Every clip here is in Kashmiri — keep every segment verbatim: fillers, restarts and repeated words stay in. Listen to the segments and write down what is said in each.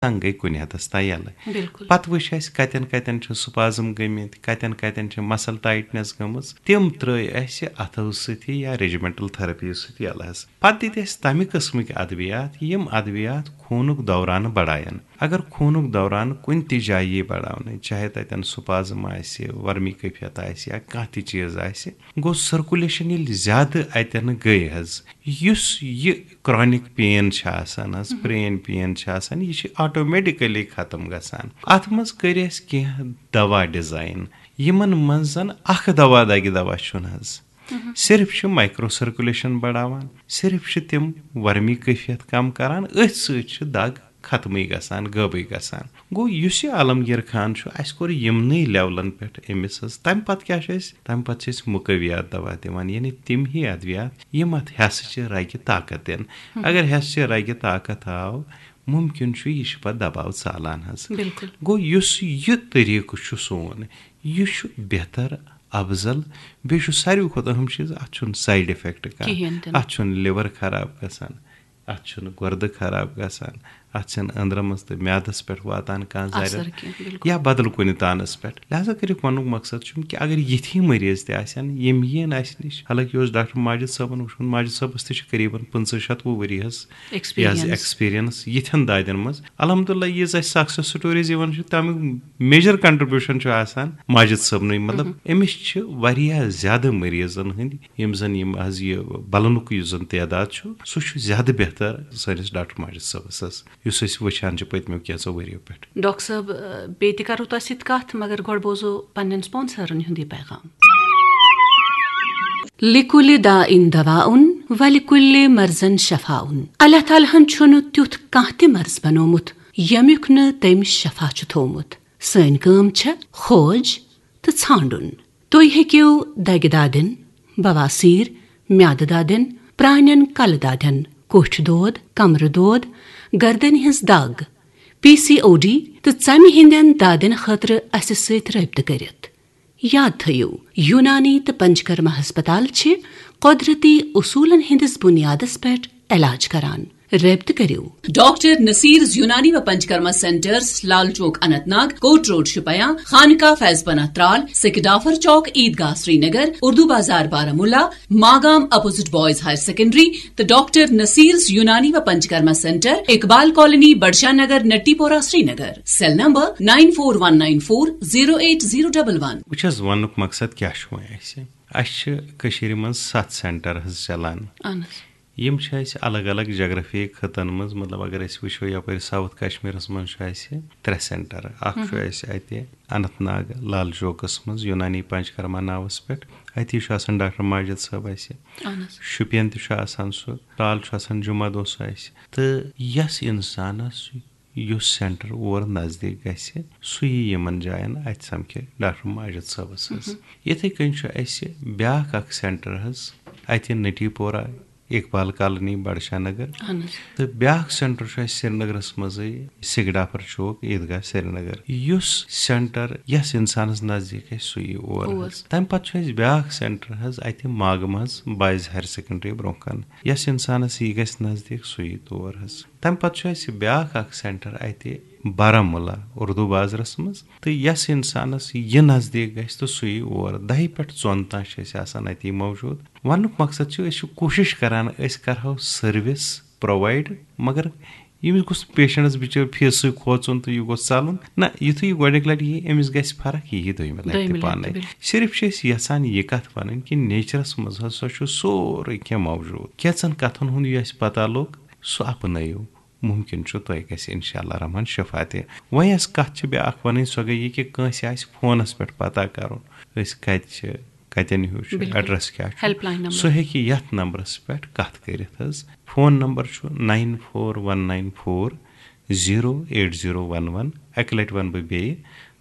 تنگ گٔے کُنہِ حدس تام یَلہٕ۔ بِلکُل۔ پتہٕ وٕچھ اَسہِ کَتٮ۪ن کَتٮ۪ن چھِ spasm گٔمٕتۍ، کَتٮ۪ن کَتٮ۪ن چھِ muscle tightness گٔمٕژ، تِم ترٲے اَسہِ اَتھو سۭتی یا regimental therapy سۭتۍ یَلہٕ حظ۔ پتہٕ دِتۍ اَسہِ تَمہِ قٕسمٕکۍ ادویات، یِم ادویات خوٗنُک دوران بڑاون۔ اگر خوٗنُک دوران کُنہِ تہِ جایہِ یی بڑاونہٕ، چاہے تَتٮ۪ن spasm آسہِ، ورمی کیفیت آسہِ یا کانٛہہ تہِ چیٖز آسہِ، گوٚو circulation ییٚلہِ زیادٕ اَتٮ۪ن گٔے حظ، یُس یہِ chronic pain چھِ آسان حظ، پرٛٲنۍ pain چھِ آسان، یہِ چھِ automatically ختم گژھان۔ اَتھ منٛز کٔرۍ اَسہِ کینٛہہ دوا design، یِمن منٛز زن اکھ دوا دگہِ دوا چھُنہٕ حظ، صرف چھُ micro circulation بڑاوان، صرف چھِ تِم ورمی کیفیت کم کران، أتھۍ سۭتۍ چھِ دگ ختمٕے گژھان، غٲبٕے گژھان۔ گوٚو، یُس یہِ عالمگیر خان چھُ، اَسہِ کوٚر یِمنٕے لیولن پٮ۪ٹھ أمِس حظ۔ تَمہِ پتہٕ کیٛاہ چھُ اَسہِ؟ تَمہِ پتہٕ چھِ أسۍ مقویات دوا دِوان، یعنی تِم ہی ادویات، یِم اَتھ حصہٕ چہِ رگہِ طاقت دِن۔ اگر حصہٕ چہِ رگہِ طاقت آو، ممکن چھُ یہِ چھُ پتہٕ دباو ژالان حظ۔ بِلکُل۔ گوٚو، یُس یہِ طریٖقہٕ چھُ سون، یہِ چھُ بہتر، افضل، بیٚیہِ چھُ ساروی کھۄتہٕ اہم چیٖز، اَتھ چھُنہٕ side effect کانٛہہ، کِہیٖنۍ تہِ نہٕ۔ اَتھ چھُنہٕ liver خراب گژھان، اَتھ چھُنہٕ گُردٕ خراب گژھان، اَتھ چھَنہٕ أنٛدرَمَس تہٕ میادَس پٮ۪ٹھ واتان کانٛہہ اثر ضرر کینٛہہ، بِلکُل۔ یا بدل کُنہِ تانَس پٮ۪ٹھ۔ لہذا کٔرِتھ وَنُک مقصد چھُم کہِ اگر یِتھی مریض تہِ آسن، یِم یِن اَسہِ نِش، حالانکہِ یہِ اوس ڈاکٹر ماجد صٲبَن وٕچھمُت، ماجد صٲبَس تہِ چھِ قریباً پٕنٛژٕہ شَتوُہ ؤری حظ یہِ حظ Experience۔ Experience یِتھٮ۪ن دادٮ۪ن منٛز۔ الحمدللہ، یہِ زِ اَسہِ success stories یِوان چھِ، تَمیُک major contribution چھُ آسان ماجد صٲبنٕے۔ مطلب، أمِس چھِ واریاہ زیادٕ مریضن ہٕنٛدۍ، یِم زن یِم حظ یہِ بلنُک یُس زن تعداد چھُ، سُہ چھُ زیادٕ بہتر سٲنِس ڈاکٹر ماجد صٲبس حظ، یُس أسۍ وٕچھان چھِ پٔتمیو کینٛژو ؤریو پٮ۪ٹھ۔ ڈاکٹر صٲب، بیٚیہِ تہِ کرو تۄہہِ سۭتۍ کتھ، مگر گۄڈٕ بوزو پننٮ۪ن sponsor-ن ہُنٛد یہِ پیغام۔ لِکُلِ دَاءٍ دَوَاءٌ وَلِکُلِّ مَرْضٍ شَفَاءٌ۔ اللہ تعالیٰ ہَن چھُنہٕ تیُتھ کانٛہہ تہِ مرض بنومُت، ییٚمیُک نہٕ تٔمۍ شفا چھُ تھوومُت۔ سٲنۍ کٲم چھےٚ کھوج تہٕ ژھانٛڈُن۔ تُہۍ ہیٚکِو دَگہِ دادٮ۪ن، بواسیر، میادٕ دادٮ۪ن، پرٛانٮ۪ن کلہٕ دادٮ۪ن، کوٹھۍ دود، کمرٕ دود، گردنہِ ہٕنٛز دگ، پی سی او ڈی تہٕ ژَمہِ ہٕنٛدٮ۪ن دادٮ۪ن خٲطرٕ اَسہِ سۭتۍ رٲبطہٕ کٔرِتھ۔ یاد تھٲیِو، یوٗنانی تہٕ پنچکرما ہسپتال چھِ قۄدرتی اصوٗلن ہٕنٛدِس بُنیادس پٮ۪ٹھ علاج کران۔ رٲبطہٕ کٔرِو۔ ڈاکٹر نصیرز یونانی و Panchakarma centres, Lal Chowk Anantnag, Kot road Shopian, Khanqah Faiz Panah Tral, Sekidafar Chowk Eidgah Srinagar, Urdu Bazar Baramulla, Magam opposite boys higher secondary, تہٕ ڈاکٹر نصیرز یونانی و Panchakarma centre, Iqbal colony, Budshah Nagar, Natipora, Srinagar. Cell number nine four one nine four zero eight zero double one۔ وٕچھ حظ، وننُک مقصد کیٛاہ چھُ وۄنۍ اَسہِ؟ اَسہِ چھِ کٔشیٖرِ منٛز ستھ سینٹر حظ چلان۔ اہن حظ۔ یِم چھِ اَسہِ الگ الگ جغرافیہ خطن منٛز، مطلب، اگر أسۍ وٕچھو، یَپٲرۍ ساوُتھ کشمیٖرَس منٛز چھُ اَسہِ ترٛےٚ سینٹر۔ اَکھ چھُ اَسہِ اَتہِ اننت ناگ لال چوکَس منٛز یوٗنانی پنچکرما ناوَس پٮ۪ٹھ، اَتی چھُ آسان ڈاکٹر ماجد صٲب اَسہِ۔ اہن حظ۔ شُپین تہِ چھُ آسان سُہ، ترٛال چھُ آسان جمعہ دۄہ سُہ اَسہِ۔ تہٕ یَس اِنسانَس یُس سینٹر اور نزدیٖک گژھِ، سُہ یی یِمَن جایَن، اَتہِ سَمکھِ ڈاکٹر ماجد صٲبَس حظ۔ یِتھَے کٔنۍ چھُ اَسہِ بیٛاکھ اَکھ سینٹر حظ اَتہِ نٹی پورہ، اقبال کالونی، بڈشاہ نگر۔ اہن حظ۔ تہٕ بیٛاکھ سینٹر چھُ اَسہِ سرینگرَس منٛزٕے، سِگڈافر چوک، عیدگاہ سرینگر۔ یُس سینٹر یَس اِنسانَس نزدیٖک آسہِ، سُہ یی اور حظ۔ تَمہِ پتہٕ چھُ اَسہِ بیٛاکھ سینٹر حظ اَتہِ ماگہٕ منٛز، بایِز ہایر سیکنڈری برٛونٛہہ کَنہِ۔ یَس اِنسانَس یی گژھِ نزدیٖک، سُہ یی تور حظ۔ تَمہِ پتہٕ چھُ اَسہِ بیٛاکھ اَکھ سینٹر اَتہِ بارہمولہ اردو بازرَس منٛز، تہٕ یَس اِنسانَس یہِ نزدیٖک گژھِ، تہٕ سُہ یی اور۔ دَہہِ پٮ۪ٹھ ژۄن تام چھِ أسۍ آسان اَتی موجوٗد۔ وَننُک مقصد چھُ، أسۍ چھِ کوٗشِش کران، أسۍ کرہو service provide، مگر ییٚمِس گوٚژھ پیشنٹس بِچٲرۍ فیسٕے کھوژُن تہٕ یہِ گوٚژھ ژَلُن۔ نہ، یُتھُے یہِ گۄڈٕنِکۍ لَٹہِ یی، أمِس گژھِ فرق، یہِ یی دوٚیمہِ لَٹہِ دوٚیمہِ تہِ لَٹہِ پانَے۔ تہِ، بِلکُل۔ صرف چھِ أسۍ یَژھان یہِ کَتھ وَنٕنۍ کہِ نیچرَس منٛز ہسا چھُ سورُے کینٛہہ موجوٗد۔ کینٛژَن کَتھَن ہُنٛد یہِ اَسہِ پَتہ لوٚگ، سُہ اَپنٲیِو۔ مُمکِن چھُ تۄہہِ گژھِ اِنشاء اللہ رحمان شفا تہِ۔ وۄنۍ ٲس کَتھ چھِ بیٛاکھ وَنٕنۍ، سۄ گٔے یہِ کہِ کٲنٛسہِ آسہِ فونَس پٮ۪ٹھ پَتہ کَرُن، أسۍ کَتہِ چھِ، کَتٮ۪ن ہیوٗ چھُ، بِلکُل۔ ایڈریس کیٛاہ چھُ، ہیلپ لاین نمبر۔ سُہ ہیٚکہِ یَتھ نمبرَس پٮ۪ٹھ کَتھ کٔرِتھ حظ۔ فون نمبر چھُ nine four one nine four zero eight zero one one۔ اَکہِ لَٹہِ وَنہٕ بہٕ بیٚیہِ،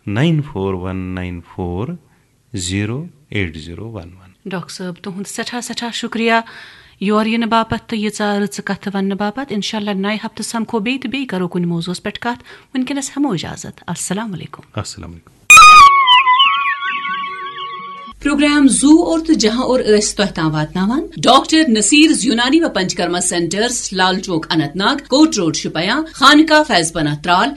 nine four one nine four zero eight zero one one۔ Doctor صٲب، تُہُنٛد سٮ۪ٹھاہ سٮ۪ٹھاہ شُکریہ یور یِنہٕ باپتھ تہٕ ییٖژاہ رٕژٕ کَتھٕ وَننہٕ باپتھ۔ اِنشاء اللہ نَیہِ ہفتہٕ سَمکھو بیٚیہِ تہٕ بیٚیہِ کَرو کُنہِ موضوعس پٮ۪ٹھ کَتھ۔ وٕنکیٚنَس ہٮ۪مو اِجازت۔ السلام علیکُم۔ السلام علیکُم۔ پروگرام زو اور تہٕ جہاں اور ٲسۍ تۄہہِ تام واتناوان ڈاکٹر نصیر یونانی و Panchakarma centres, Lal Chowk Anantnag, Kot road Shopian, Khanqah Faiz Panah Tral,